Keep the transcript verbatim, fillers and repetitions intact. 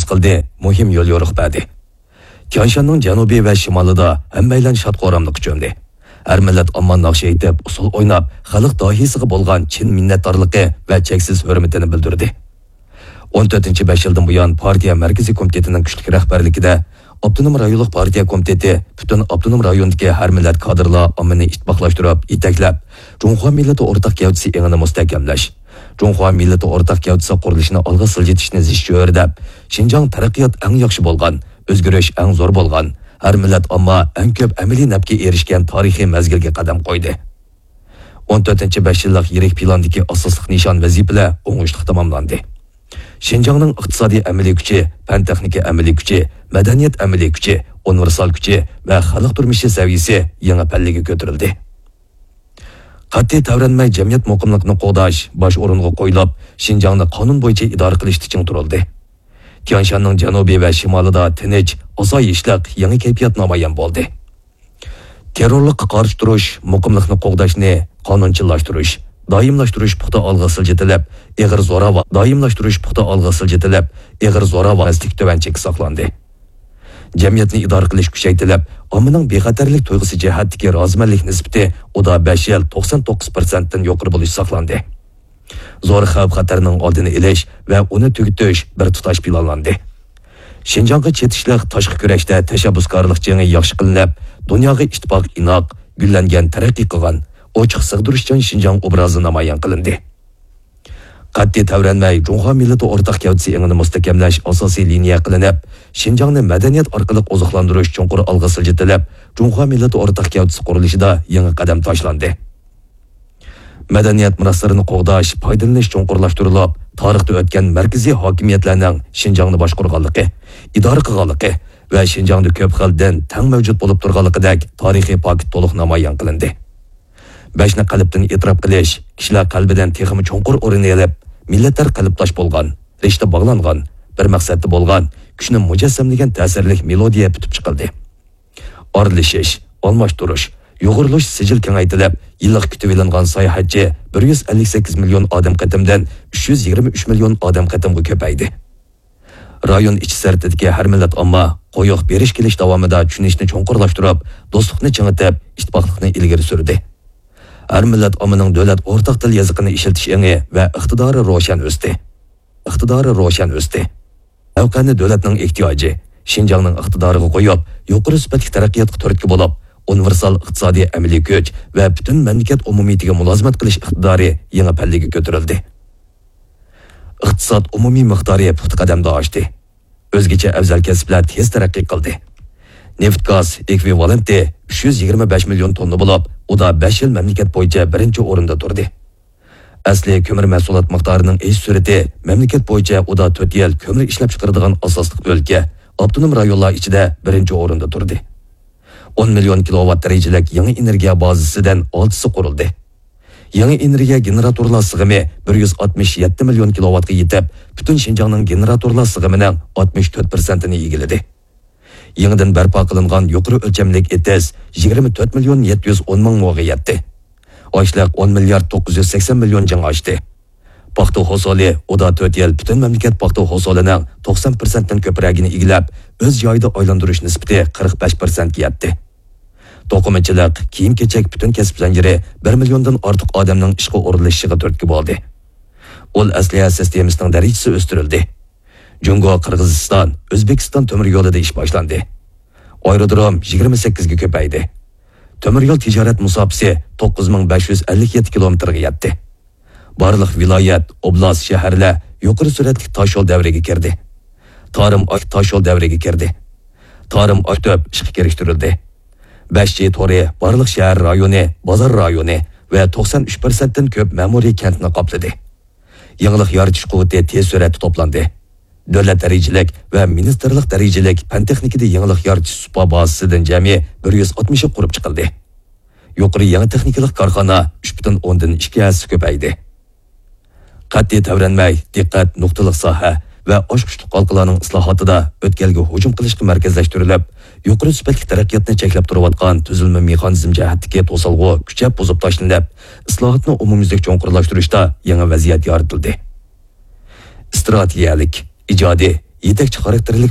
قىلدى، مۇھىم يوليورۇق بەردى. تيانشاننىڭ جەنۇبى ۋە شىمالىدا ھەممەيلەن شاد-خۇراملىققا چۆمدى. ھەر مىللەت ئامما ناخشا ئېيتىپ، ئۇسسۇل ئويناپ، خەلق داھىيسىغا بولغان چىن مىننەتدارلىقى ۋە چەكسىز ھۆرمىتىنى بىلدۈردى. ئون تۆتىنچى بەش يىلدىن بۇيان، پارتىيە مەركىزىي كومىتېتىنىڭ كۈچلۈك رەھبەرلىكىدە، ئاپتونوم رايونلۇق پارتىيە كومىتېتى پۈتۈن ئاپتونوم رايوندىكى ھەر مىللەت كادىرلار ئاممىنى ئىتتىپاقلاشتۇرۇپ، يېتەكلەپ، جۇڭخۇا مىللىتى ئورتاق گەۋدىسى ئېڭىنى مۇستەھكەملەش، جۇڭخۇا مىللىتى ئورتاق گەۋدىسى قۇرۇلۇشىنى ئالغا سىلجىتىشنى زىچ چۆرىدەپ، شىنجاڭ تەرەققىيات ئەڭ ياخشى بولغان، ئۆزگىرىش ئەڭ زور بولغان، ھەر مىللەت ئامما ئەڭ كۆپ ئەمەلىي نەپكە ئېرىشكەن تارىخىي مەزگىلگە قەدەم قويدى. ئون تۆتىنچى بەش يىللىق يىرىك پىلاندىكى ئاساسلىق نىشان ۋەزىپىلەر ئوڭۇشلۇق تاماملاندى. شىنجاڭنىڭ ئىقتىسادىي ئەمەلىي كۈچى، پەن-تېخنىكا ئەمەلىي كۈچى، مەدەنىيەت ئەمەلىي كۈچى، ئۇنىۋېرسال كۈچى ۋە خەلق تۇرمۇشى سەۋىيەسى يېڭى پەللىگە كۆتۈرۈلدى. قەتئىي تەۋرەنمەي جەمئىيەت مۇقىملىقىنى قوغداش باش ئورۇنغا قويۇلۇپ، شىنجاڭنى قانۇن بويىچە ئىدارە قىلىشتا چىڭ تۇرۇلدى. تيانشاننىڭ جەنۇبى ۋە شىمالىدا تىنچ، ئاسايىشلىق يېڭى كەيپىيات نامايان بولدى. تېررورلۇققا قارشى تۇرۇش، مۇقىملىقنى قوغداشنى قانۇنچىللاشتۇرۇش، دائىملاشتۇرۇش پۇختا ئالغا سىلجىتىلىپ، ئېغىر زوراۋان، دائىملاشتۇرۇش پۇختا ئالغا سىلجىتىلىپ، ئېغىر زوراۋانلىق تۆۋەن چەككە ساقلاندى. جەمئىيەتنى ئىدارە قىلىش كۈچەيتىلىپ، ئاممىنىڭ بىخەتەرلىك تۇيغۇسى جەھەتتىكى رازىمەنلىك نىسبىتى ئۇدا بەش يىل توقسان توققۇز پىرسەنتتىن يۇقىرى بولۇش ساقلاندى. زور خەۋپ-خەتەرنىڭ ئالدىنى ئېلىش ۋە ئۇنى تۈگىتىش بىر تۇتاش پىلانلاندى. شىنجاڭغا چېتىشلىق تاشقى كۈرەشتە تەشەببۇسكارلىق جېڭى ياخشى قىلىنىپ، دۇنياغا ئىتتىپاق ئىناق، گۈللەنگەن، تەرەققىي قىلغان، ئوچۇق سىغدۇرۇشچان شىنجاڭ ئوبرازى نامايان قىلىندى. قەتئىي تەۋرەنمەي جۇڭخۇا مىللىتى ئورتاق گەۋدىسى ئېڭىنى مۇستەھكەملەش ئاساسىي لىنىيە قىلىنىپ، شىنجاڭنى مەدەنىيەت ئارقىلىق ئوزۇقلاندۇرۇش چوڭقۇر ئالغا سىلجىتىلىپ، جۇڭخۇا مىللىتى ئورتاق گەۋدىسى قۇرۇلۇشىدا يېڭى قەدەم تاشلاندى. مەدەنىيەت مىراسلىرىنى قوغداش، پايدىلىنىش چوڭقۇرلاشتۇرۇلۇپ، تارىختا ئۆتكەن مەركىزىي ھاكىمىيەتلەرنىڭ شىنجاڭنى باشقۇرغانلىقى، ئىدارە قىلغانلىقى ۋە شىنجاڭدا كۆپ خىل دىن تەڭ مەۋجۇت بولۇپ تۇرغانلىقىدەك تارىخىي پاكىت تولۇق نامايان قىلىندى. بەشنى قەلبتىن ئېتىراپ قىلىش، كىشىلەر قەلبىدىن تېخىمۇ چوڭقۇر ئورۇن ئېلىپ، مىللەتلەر قەلبداش بولغان، رىشتە باغلانغان، بىر مەقسەتتە بولغان، كۈچنى مۇجەسسەملىگەن تەسىرلىك مېلودىيە پۈتۈپ چىقىلدى. ئارىلىشىش، ئالماشتۇرۇش، يۇغۇرۇلۇش سىجىل كېڭەيتىلىپ، يىللىق كۈتۈۋېلىنغان ساياھەتچى بىر يۈز ئەللىك سەككىز مىليون ئادەم قېتىمدىن ئۈچ يۈز يىگىرمە ئۈچ مىليون ئادەم قېتىمغا كۆپەيدى. رايون ئىچى سىرتىدىكى ھەر مىللەت ئامما قويۇق بېرىش كېلىش داۋامىدا چۈشىنىشنى چوڭقۇرلاشتۇرۇپ، دوستلۇقنى چىڭىتىپ، ئىتتىپاقلىقنى ئىلگىرى سۈردى. ھەر مىللەت ئاممىنىڭ دۆلەت ئورتاق تىل يېزىقىنى ئىشلىتىش ئېڭى ۋە ئىقتىدارى روشەن ئۆستى. ئىقتىدارى روشەن ئۆستى. مەۋقەنى دۆلەتنىڭ ئېھتىياجى، شىنجاڭنىڭ ئىقتىدارىغا قويۇپ، يۇقىرى سۈپەتلىك تەرەققىياتقا تۈرتكە بولۇپ، ئۇنىۋېرسال ئىقتىسادىي ئەمەلىي كۈچ ۋە پۈتۈن مەملىكەت ئومۇمىيىتىگە مۇلازىمەت قىلىش ئىقتىدارى يېڭى پەللىگە كۆتۈرۈلدى. ئىقتىساد ئومۇمىي مىقدارى پۇختا قەدەمدە ئاشتى. ئۆزگىچە ئەۋزەل كەسىپلەر تېز تەرەققىي قىلدى. نېفىت گاز ئېكۋىۋالېنتى ئۈچ يۈز يىگىرمە بەش مىليون توننا بولۇپ، ئۇدا بەش يىل مەملىكەت بويىچە بىرىنچى ئورۇندا تۇردى. ئەسلى كۆمۈر مەھسۇلات مىقدارىنىڭ ئېشىش سۈرئىتى مەملىكەت بويىچە ئۇدا تۆت يىل كۆمۈر ئىشلەپچىقىرىدىغان ئاساسلىق ئۆلكە، ئاپتونوم رايونلار ئىچىدە بىرىنچى ئورۇندا تۇردى. ئون مىليون كىلوۋات دەرىجىلىك يېڭى ئېنېرگىيە بازىسىدىن ئالتىسى قۇرۇلدى. يېڭى ئېنېرگىيە گېنېراتورلار سىغىمى بىر يۈز ئاتمىش يەتتە مىليون كىلوۋاتقا يېتىپ، پۈتۈن شىنجاڭنىڭ گېنېراتورلار سىغىمىنىڭ ئاتمىش تۆت پىرسەنتىنى ئىگىلىدى. يېڭىدىن بەرپا قىلىنغان يۇقىرى ئۆلچەملىك ئېتىز يىگىرمە تۆت مىليون يەتتە يۈز ئون مىڭ موغا يەتتى. ئاشلىق ئون مىليارد توققۇز يۈز سەكسەن مىليون جىڭ ئاشتى. پاختا ھوسۇلى ئۇدا تۆت يىل پۈتۈن مەملىكەت پاختا ھوسۇلىنىڭ توقسان پىرسەنتتىن كۆپرەكىنى ئىگىلەپ، ئۆز جايىدا ئايلاندۇرۇش نىسبىتى قىرىق بەش پىرسەنتكە يەتتى. توقۇمىچىلىق، كىيىم-كېچەك پۈتۈن كەسىپ زەنجىرى بىر مىليوندىن ئارتۇق ئادەمنىڭ ئىشقا ئورۇنلىشىشىغا تۈرتكە بولدى. ئۇل ئەسلىھە سىستېمىسىنىڭ دەرىجىسى ئۆستۈرۈلدى. جۇڭگو، قىرغىزىستان، ئۆزبېكىستان تۆمۈر يولىدا ئىش باشلاندى. ئايرودروم يىگىرمە سەككىزگە كۆپەيدى. تۆمۈر يول تىجارەت مۇساپىسى توققۇز مىڭ بەش يۈز ئەللىك يەتتە كىلومېتىرغا يەتتى. بارلىق ۋىلايەت، ئوبلاست، شەھەرلەر يۇقىرى سۈرئەتلىك تاشيول دەۋرىگە كىردى. تارىم ئاي تاشيول دەۋرىگە كىردى. تارىم ئاي تۆپ ئىشقا كىرىشتۈرۈلدى. بەش جى تورى بارلىق شەھەر رايونى، بازار رايونى ۋە توقسان ئۈچ پىرسەنتتىن كۆپ مەمۇرىي كەنتنى قاپلىدى. يېڭىلىق يارىتىش قۇۋۋىتى تېز سۈرئەتتە توپلاندى. دۆلەت دەرىجىلىك ۋە مىنىستىرلىق دەرىجىلىك پەن-تېخنىكىدا يېڭىلىق يارىتىش سۇپا بازىسىدىن جەمئىي بىر يۈز ئاتمىشى قۇرۇپ چىقىلدى. يۇقىرى يېڭى تېخنىكىلىق كارخانا ئۈچ پۈتۈن ئوندىن ئىككى ھەسسە كۆپەيدى. قەتئىي تەۋرەنمەي، دىققەت نۇقتىلىق ساھە ۋە ئاچقۇچلۇق ھالقىلارنىڭ ئىسلاھاتىدا ئۆتكەلگە ھۇجۇم قىلىشقا مەركەزلەشتۈرۈلۈپ، يۇقىرى سۈپەتلىك تەرەققىياتنى چەكلەپ تۇرۇۋاتقان تۈزۈلمە مېخانىزم جەھەتتىكى توسالغۇ كۈچەپ بۇزۇپ تاشلىنىپ، ئىسلاھاتنى ئومۇميۈزلۈك چوڭقۇرلاشتۇرۇشتا يېڭى ۋەزىيەت يارىتىلدى. ئىستراتېگىيەلىك، ئىجادىي، يېتەكچى خاراكتېرلىك